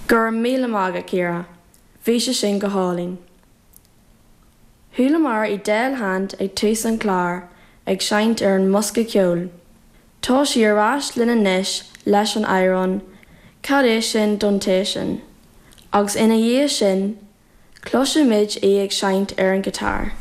Go raibh míle maith agat, Ciara. Bhí sé sin go hálainn. Chualamar Edel Hand ag tús an chláir ag seinnt ar an mbosca ceoil. Tá sí ar ais linn anois leis an amhrán 'Cad é sin don té sin? agus ina dhiaidh sin, cloisfimid í ag seinnt ar an ghiotár.